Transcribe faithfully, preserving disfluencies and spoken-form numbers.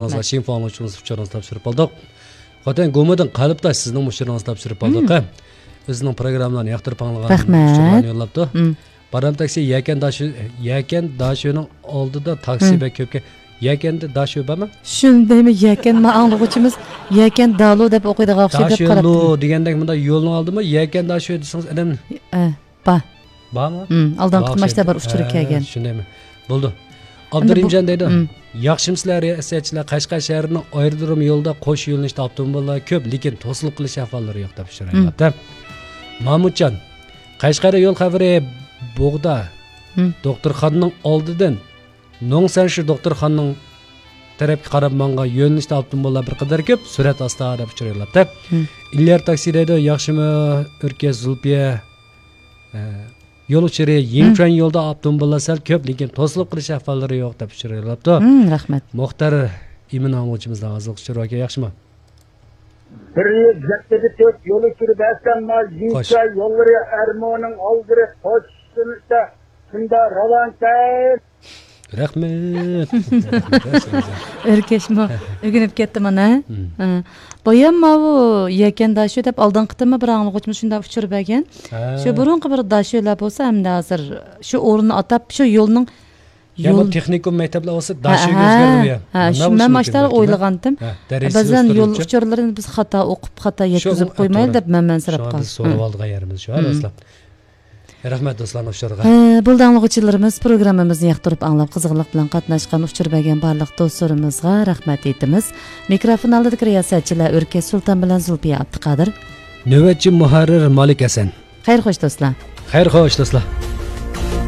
رەھمەت. شىنفاڭ ئۇچۇرىڭىز، ئۇچۇرىڭىزنى تاپشۇرۇپ ئالدۇق. خوتەن گومىدىن قەلبداش سىزنىڭ ئۇچۇرىڭىزنى تاپشۇرۇپ ئالدۇق. مم. ئۆزىنىڭ پروگراممىلارنى ياقتۇرۇپ ئاڭلىغان، ئۇچۇرلارنى يوللاپتۇ. مم. بارام تاكسى يەكەن داشۆ، يەكەن داشۆنىڭ ئالدىدا تاكسى بەك كۆپكەن. يەكەندە داشۆ بارمۇ؟ شۇندايمۇ يەكەن، ما ئاڭلىغۇچىمىز يەكەن دالو دەپ ئوقۇيدىغان ئوخشايدۇ دەپ قاراپتۇ. داشۆلۇ دېگەندەك مۇنداق يولنىڭ ئالدىمۇ يەكەن داشۆ دېسىڭىز ئادەم. ئە، بار. بارمۇ؟ ئالدىنقى قېتىم ماشىنا بار ئۇچۇرى كەلگەن. شۇندايمۇ؟ بولدۇ. ئابدۇرېھىمجان دەيدۇ. ياخشىمۇسىلەر رىياسەتچىلەر؟ قەشقەر شەھىرىنىڭ ئايرودروم يولىدا قوش يۆنىلىشتە ئاپتوموبىللار كۆپ، لېكىن توسۇلۇپ قېلىش ئەھۋاللىرى يوق دەپ ئۇچۇر يوللاپتۇ. مامۇتجان، قەشقەردە يول خەۋىرى بوغدا. دوختۇرخانىنىڭ ئالدىدىن نوڭسەنشى دوختۇرخانىنىڭ تەرەپكە قاراپ ماڭغان يۆنىلىشتە ئاپتوموبىللار بىر قەدەر كۆپ، سۈرئەت ئاستا دەپ ئۇچۇر يوللاپتۇ. ئىليار تاكسى دەيدۇ، ياخشىمۇ ئۆركەش زۇلپىيە؟ ئە، يول ئۇچۇرى، يىڭچۈەن يولدا ئاپتوموبىللار سەل كۆپ، لېكىن توسۇلۇپ قېلىش ئەھۋاللىرى يوق دەپ ئۇچۇر يوللاپتۇ. رەھمەت. مۇختار ئىمىن ئاڭلىغۇچىمىزدا ھازىرقى ئۇچۇر باركەن، ياخشىمۇ؟ بىر يۈز يەتتە تۆت يول ئۇچۇرى بەرسەم، ما يىڭچۈەن يوللىرى ئەرمونىڭ ئالدىرى قوشۇلۇشتا شۇنداق راۋانكەن. رەھمەت. ئۆركەشمۇ ئۆگىنىپ كەتتى مانا. بايام ماۋۇ يەكەن داشۆ دەپ ئالدىنقى قېتىممۇ بىر ئاڭلىغۇچىمىز شۇنداق ئۇچۇر بەرگەن. شۇ بۇرۇنقى بىر داشۆلەر بولسا ئەمدى ھازىر شۇ ئورۇننى ئاتاپ شۇ يولنىڭ يا بۇ تېخنىكوم مەكتەپلەر بولسا داشۆگە ئۆزگەرمىگەن. شۇ مەن ماشتاق ئويلىغانتىم. بەزەن يول ئۇچۇرلىرىنى بىز خاتا ئوقۇپ، خاتا يەتكۈزۈپ قويمايلى دەپ مەن مەنسىرەپ قالدىم. شۇ سورىۋالىدىغان يېرىمىز شۇ، رەھمەت دوستلارنىڭ ئۇچۇرىغا. بولدى ئاڭلىغۇچىلىرىمىز، پروگراممىمىزنى ياقتۇرۇپ ئاڭلاپ، قىزغىنلىق بىلەن قاتناشقان، ئۇچۇر بەرگەن بارلىق دوستلىرىمىزغا رەھمەت ئېيتىمىز. مىكروفون ئالدىدىكى رىياسەتچىلەر ئۆركەش سۇلتان بىلەن زۇلپىيە ئابدۇقادىر. نۆۋەتچى مۇھەررىر مالىك ھەسەن. خەير خوش دوستلار. خەير خوش دوستلار.